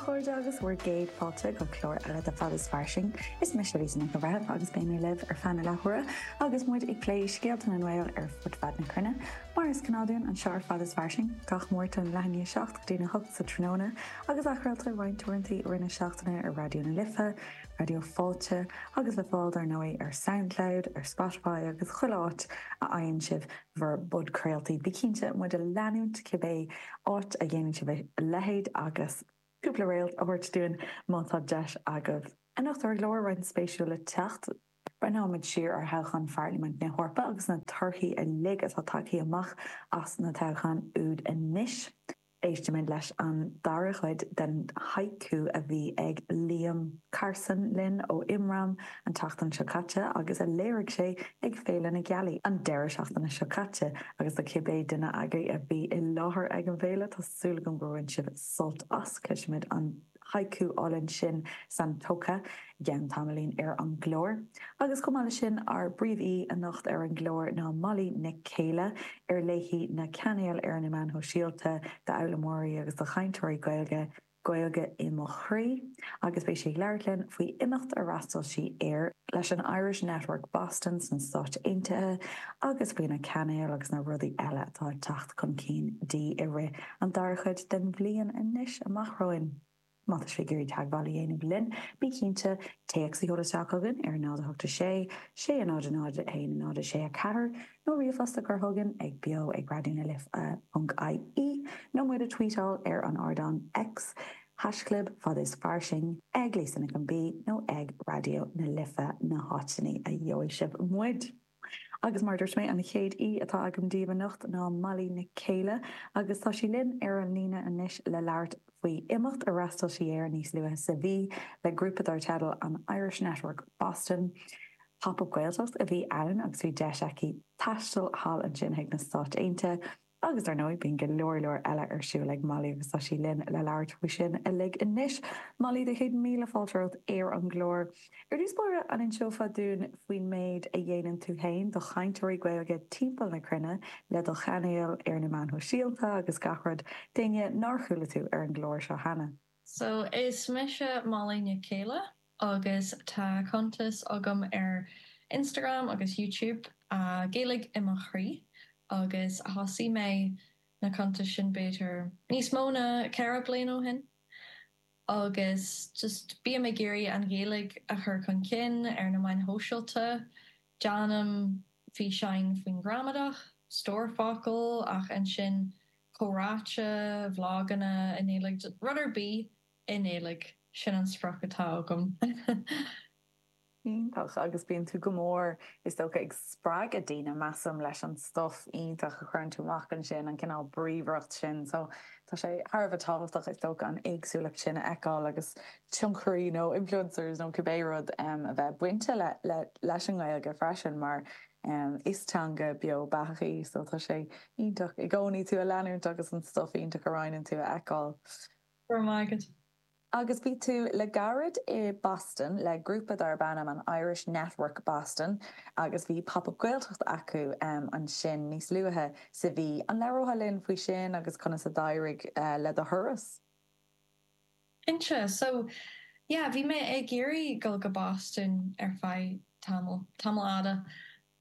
chairde agus bhur gcéad fáilte go clár eile de Fad is Fairsing. Is mise Lisa Nic an Bhreithimh agus beidh mé libh ar feadh na leathuaire agus muid ag plé scéalta na nGael ar fud fad na cruinne. Mar is gnáth dúinn anseo ar Fad is Fairsing, gach Máirt ón leath i ndiaidh 7 go dtí'n 8 sa tráthnóna agus athchraolta roinnt uaireanta i rith na seachtaine ar Raidió na Life, Raidió Fáilte agus le fáil dar ndóigh ar Soundcloud, ar Spotify agus chuile áit a fhaigheann sibh bhur bpodchraoltaí. Bí cinnte muid a leanúint cibé áit a dhéanann sibh a leithéid agus cúpla réalt a thabhairt dúinn má tá deis agaibh. Anocht ar an gclár, roinnt spéisiúil le teacht. Breathnóimid siar ar thoghchán Pharlaimint na hEorpa agus na torthaí uilig atá tagtha amach as na toghcháin úd anois. Éistfimid leis an dara cuid den haiku a bhí ag Liam Carson linn ó Imram an tseachtain seo caite agus a léirigh sé ag Féile na Gealaí an deireadh seachtaine seo caite agus do cibé duine agaibh a bhí i láthair ag an bhféile tá súil agam gur bhain sibh sult as. Cloisfimid an haiku álainn sin Santokha i gceann tamaillín ar an gclár. Agus chomh maith leis sin, ár bpríomhaoi anocht ar an gclár ná Molly Nic Céile, ar léi na cainéil ar na meáin shóisialta d'fhoghlaimeoirí agus do chainteoirí Gaeilge, Gaeilge i mo Chroí, agus beidh sí ag labhairt linn faoi imeacht ar fhreastail sí air leis an Irish Network Boston sna Stáit Aontaithe agus faoi na cainéil agus na rudaí eile atá ag teacht chun cinn di i rith an dara cuid den bhliain anois amach romhainn. Má tá sibh ag iarraidh teagmháil a dhéanamh linn, bí cinnte téacs a sheoladh isteach chugainn ar 0 8 6 6 0 0 1 0 6 4 nó ríomhphost a chur chugainn ag beo ag raidió na life ponc ie nó muid a tweetáil ar an ardán X, haischlib fad is fairsing, ag Lisa Nic an B nó ag Raidió na Life na háiteanna a gheobhaidh sibh muid. Agus mar a dúirt mé, an chéad aoi atá agam daoibh anocht ná Molly Nic Céile agus tá sí linn ar an líne anois le labhairt faoi imeacht ar fhreastail sí air níos luaithe sa mhí le grúpa dar teideal an Irish Network Boston. Pop Up Gaeltacht a bhí ann agus bhí deis aici taisteal thall ansin chuig na Stáit Aontaithe. Agus dar ndóigh, bíonn go leor leor eile ar siúl ag Molly agus tá sí linn le labhairt faoi sin uilig anois. Molly, do chéad míle fáilte romhat ar an gclár. Ar dtús báire, an inseofá dúinn faoin méid a dhéanann tú féin do chainteoirí Gaeilge timpeall na cruinne le do chainéal ar na meáin shóisialta agus gach rud, d'éinne nár chuala tú ar an gclár seo cheana? So, is mise Molly Nic Céile agus tá cuntas agam ar Instagram agus YouTube, Gaeilge i mo Chroí, agus thosaigh mé na cuntais sin b'fhéidir níos mó ná 4 bliain ó shin agus just bím ag iarraidh an Ghaeilge a chur chun cinn ar na meáin shóisialta. Déanaim físeáin faoin ghramadach, stór focal ach ansin comhráite, vloganna i nGaeilge, rud ar bith i nGaeilge, sin an sprioc atá agam. Iontach, agus bíonn tú go mór, is dócha, ag spreagadh daoine, measaim, leis an stuif iontach a chuireann tú amach ansin, an cineál bríomhaireacht sin. So, tá sé thar a bheith tábhachtach, is dócha, an éagsúlacht sin a fheiceáil agus tionchairí nó influencers nó cibé rud a bheith bainte le, le, leis an nGaeilge freisin mar is teanga beo beathach í. So, tá sé iontach i gcónaí tú a leanúint agus an stuif iontach a roinneann tú a fheiceáil. Go raibh maith agat. Agus bhí tú le gairid i Boston le grúpa darb ainm an Irish Network Boston agus bhí Pop Up Gaeltacht acu ansin níos luaithe sa mhí. An labhrófá linn faoi sin agus conas a d'éirigh le do thuras? Cinnte. So, yeah, bhí mé ag iarraidh dul go Boston ar feadh tamall, tamall fhada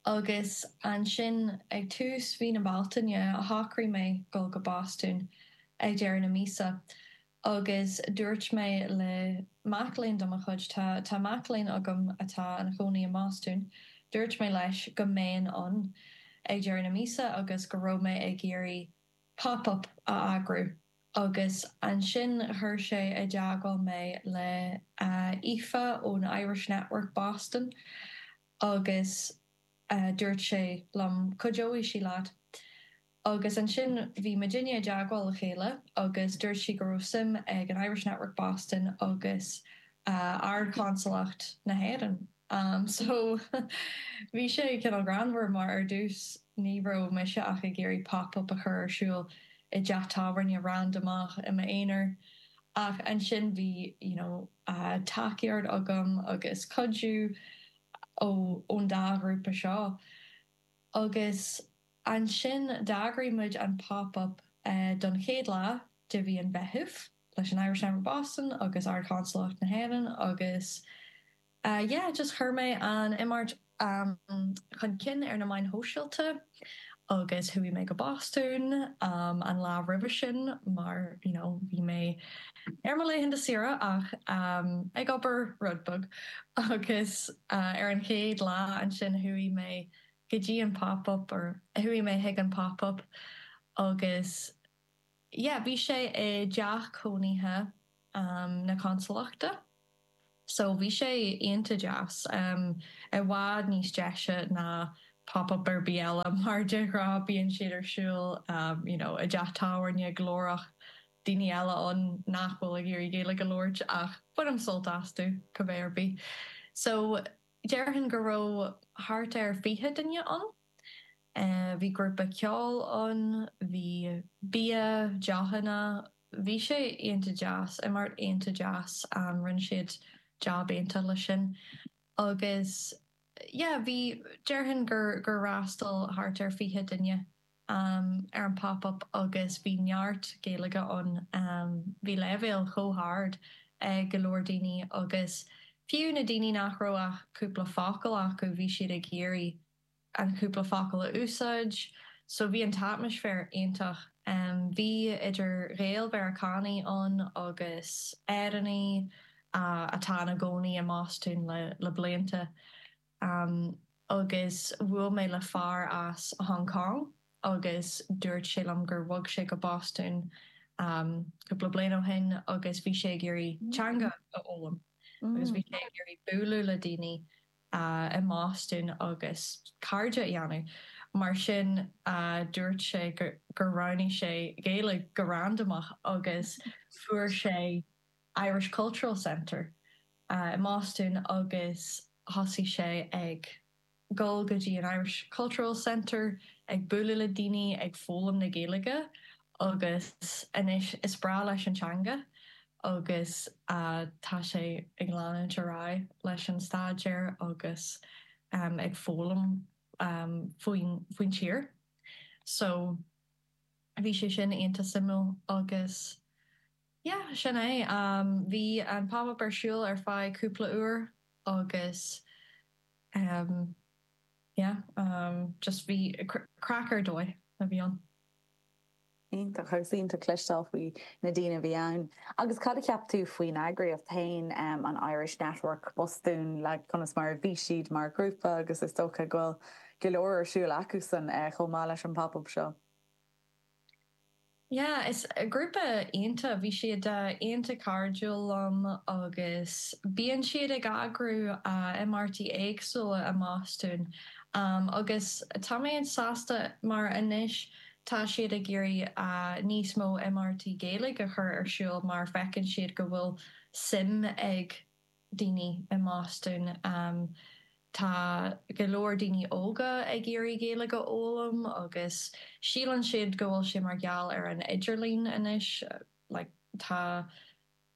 Agus ansin ag tús mhí na Bealtaine shocraigh mé dul go Bostún ag deireadh na míosa agus dúirt mé le mac léinn de mo chuid, tá tá mac léinn agam atá ina chónaí i mBostún, dúirt mé leis go mbeinn ann ag deireadh na míosa agus go raibh mé ag iarraidh pop up a eagrú agus ansin chuir sé i dteagmháil mé le Aoife ón Irish Network Boston agus dúirt sé liom cuideoidh sí leat. Agus ansin bhí muidinne i dteagmháil le chéile agus dúirt sí go raibh suim ag an Irish Network Boston agus Ard-Chonsalacht na hÉireann. So bhí sé cineál greannmhar mar ar dtús ní raibh mise ach ag iarraidh pop-up a chur ar siúl i dteach tábhairne randamach i m'aonar ach ansin bhí you know tacaíocht agam agus cuidiú ón dá ghrúpa seo. Agus ansin d'eagraigh muid an pop-up don chéad lá de mhí an Mheithimh. leis an Irish Network Boston agus Ard-Chonsalacht na hÉireann agus yeah just chuir mé an imeacht chun cinn ar na meáin shóisialta agus chuaigh mé go Bostún an lá roimhe sin mar you know bhí mé ar mo laethanta saoire ach ag obair rud beag agus ar an chéad lá ansin chuaigh mé go dtí an pop-up or chuaigh mé chuig an pop-up agus yeah bhí sé i dteach cónaithe na consalachta. So bhí sé iontach deas, i bhfad níos deise ná pop up ar bith eile mar de ghnáth bíonn siad ar siúl you know i dteach tábhairne glórach, daoine eile ann nach bhfuil ag iarraidh Gaeilge a labhairt ach bainim sult astu cibé ar bith. So déarfainn go raibh thart ar 20 duine ann. Bhí grúpa ceoil ann, bhí bia, deochanna, Bhí sé iontach deas, imeacht iontach deas, rinne siad jab iontach leis sin agus yeah bhí, déarfainn gur gur fhreastail thart ar 20 duine ar an pop up agus bhí neart Gaeilge ann, bhí leibhéal chomh hard ag go leor daoine agus fiú na daoine nach raibh ach cúpla focal acu bhí siad ag iarraidh an cúpla focal a úsáid. So bhí an t-atmaisféar iontach. Bhí idir Ghael-Mheiriceánaigh ann agus Éireannaigh atá ina gcónaí i mBostún le blianta. Agus bhuail mé le fear as Hong Kong agus dúirt sé liom gur bhog sé go Bostún cúpla bliain ó shin agus bhí sé ag iarraidh teanga a fhoghlaim agus bhí sé ag iarraidh bualadh le daoine i mBostún agus cairde a dhéanamh. Mar sin, dúirt sé gur roghnaigh sé Gaeilge go randamach agus fuair sé Irish Cultural Centre i mBostún agus thosaigh sé ag dul go dtí an Irish Cultural Centre, ag bualadh le daoine, ag foghlaim na Gaeilge agus anois is breá leis an teanga. agus tá sé ag leanúint ar aghaidh leis an staidéar agus ag foghlaim faoin tír. So bhí sé sin iontach suimiúil agus yeah sin é. Bhí an pop-up ar siúl ar feadh cúpla uair agus yeah just bhí craic ar dóigh a bhí ann. Iontach, agus iontach cloisteáil faoi na daoine a bhí ann. Agus cad a cheap tú faoin eagraíocht féin, an Irish Network Bostún, like conas mar a bhí siad mar ghrúpa agus is dócha go bhfuil go leor ar siúl acusan chomh maith leis an pop-up seo. Yeah, is grúpa iontach, bhí siad iontach cairdiúil liom agus bíonn siad ag eagrú imeachtaí éagsúla i mBostún agus tá mé sásta mar anois Tá siad ag iarraidh níos mó imeachtaí Gaeilge a chur ar siúl mar feiceann siad go bhfuil suim ag daoine i mBostún. Tá go leor daoine óga ag iarraidh Gaeilge a fhoghlaim agus síleann siad go bhfuil sé mar gheall ar an idirlíon anois. Like tá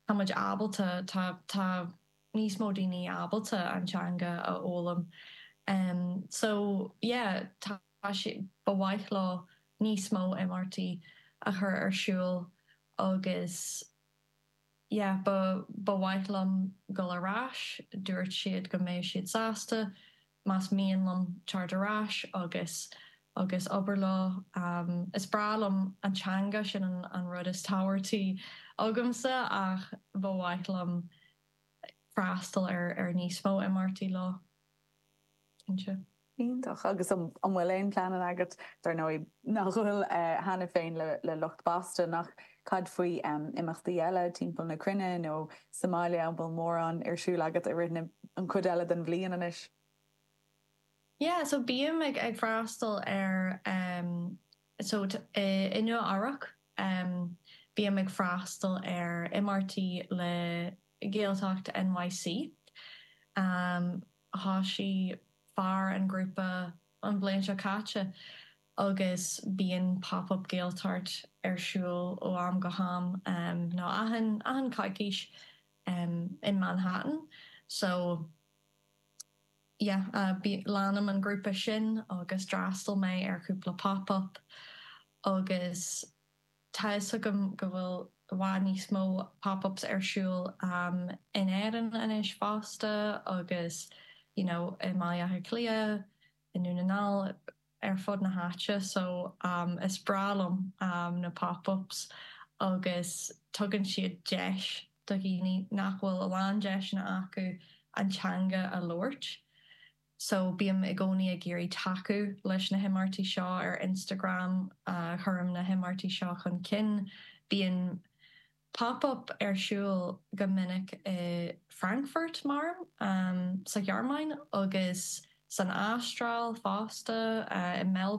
tá muid ábalta, tá tá níos mó daoine ábalta an teanga a fhoghlaim. So yeah tá. Ba mhaith leo níos mó imeachtaí a chur ar siúl agus yeah ba ba mhaith liom dul ar ais. Dúirt siad go mbeadh siad sásta más mian liom teacht ar ais agus agus obair leo. Is breá liom an teanga, sin an rud is tábhachtaí agamsa ach ba mhaith liom freastal ar ar níos mó imeachtaí leo, cinnte. Iontach. Agus an bhfuil aon pleananna agat, dar ndóigh nach bhfuil cheana féin le lucht Boston, ach cad faoi imeachtaí eile timpeall na cruinne nó sa mbaile, an bhfuil mórán ar siúl agat i rith na, an chuid eile den bhliain anois? Yeah, so bím ag ag freastal ar so i Nua Eabhrac bím ag freastal ar imeachtaí le Gaeltacht NYC. Thosaigh fear an grúpa an bhliain seo caite agus bíonn Pop Up Gaeltacht ar siúl ó am go ham nó achan achan coicís in Manhattan. So yeah leanaim an grúpa sin agus d'fhreastail mé ar chúpla pop up agus tá fhios agam go bhfuil. i bhfad níos mó pop-ups ar siúl in Éirinn anois fosta agus you know i mBaile Átha Cliath, i nDún na nGall, ar fud na háite so is breá liom na pop-ups agus tugann siad deis do dhaoine nach bhfuil a lán deiseanna acu an teanga a labhairt. So bím i gcónaí ag iarraidh tacú leis na himeachtaí seo ar Instagram, cuirim na himeachtaí seo chun cinn. Bíonn pop-up ar siúl go minic i Frankfurt, mar, sa Ghearmáin agus san Astráil fosta, i Melbourne.